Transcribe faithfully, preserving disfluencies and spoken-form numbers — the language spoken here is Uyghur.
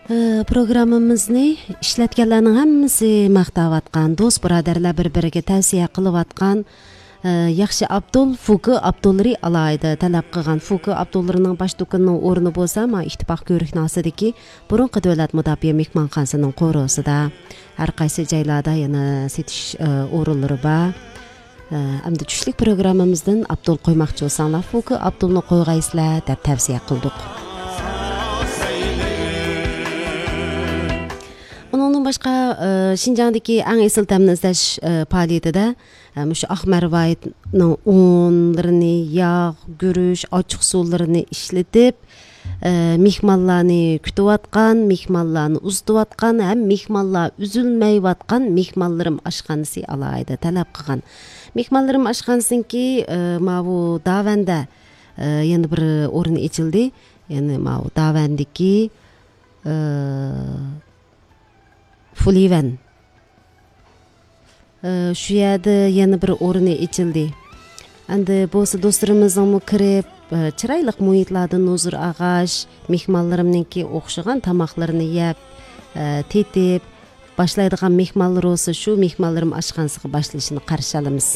ئە، پروگراممىمىزنى ئىشلەتكەنلەرنىڭ ھەممىسى ماختاۋاتقان، دوست بۇرادەرلەر بىر-بىرىگە تەۋسىيە قىلىۋاتقان، ئە، ياخشى ئابدۇل، فۇكى ئابدۇللىرى ئالاھىدە تەلەپ قىلغان. فۇكى ئابدۇللىرىنىڭ باش دۇكىنىنىڭ ئورنى بولسا، ما ئىتتىپاق كۆۋرۈكنىڭ ئاستىدىكى بۇرۇنقى دۆلەت مۇداپىئە مېھمانخانىسىنىڭ قورۇسىدا. ھەر قايسى جايلاردا يەنە سېتىش، ئە، ئورۇنلىرى بار. ئە، ئەمدى چۈشلۈك پروگراممىمىزدىن ئابدۇل قويماقچى بولساڭلار، فۇكى ئابدۇلنى قويغايسىلەر دەپ تەۋسىيە قىلدۇق. ئۇنىڭدىن باشقا، ئە، شىنجاڭدىكى ئەڭ ئېسىل تەمنى ئىزدەش، ئە، پائالىيىتىدە، ئە، مۇشۇ ئاق مەرۋايىتنىڭ ئۇنلىرىنى، ياغ، گۈرۈچ، ئاچچىق سۇلىرىنى ئىشلىتىپ، ئە، مېھمانلارنى كۈتۈۋاتقان، مېھمانلارنى ئۇزىتىۋاتقان ھەم مېھمانلار ئۈزۈلمەيۋاتقان مېھمانلىرىم ئاشخانىسى ئالاھىدە تەلەپ قىلغان. مېھمانلىرىم ئاشخانىسىنىڭكى، ئە، ماۋۇ داۋەندە، ئە، يەنە بىر ئورنى ئېچىلدى. يەنى ماۋۇ داۋەندىكى، ئە، فۇلىۋەن. ئە، شۇ يەردە يەنە بىر ئورنى ئېچىلدى. ئەمدى بولسا دوستلىرىمىزنىڭمۇ كىرىپ، ئە، چىرايلىق مۇھىتلاردىن ھۇزۇر ئالغاچ، مېھمانلىرىمنىڭكى ئوخشىغان تاماقلىرىنى يەپ، ئە، تېتىپ، باشلايدىغان مېھمانلىرى بولسا شۇ مېھمانلىرىم ئاشخانىسىغا باشلىشىنى قارشى ئالىمىز.